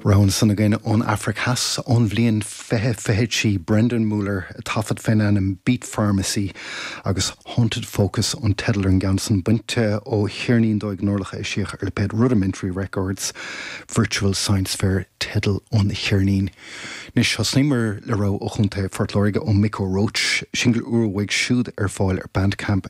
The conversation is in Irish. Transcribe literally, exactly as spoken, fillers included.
Rogha ansan againn ón Afraic Theas ón bhliain fiche fiche trí Brendan Muller taifead faoin ainm Beat Pharmacy agus Haunted Focus an teideal ar an gceann san bainte ó cheirnín dóigh Norlach eisíodh ar lipéad Rudimentary Records Virtual Science Fair teideal an cheirnín. Anois thosnaíomar le rogha ó Chontae Phort Láirge ó Micko Roach, singil úr uaidh siúd ar fáil ar Bandcamp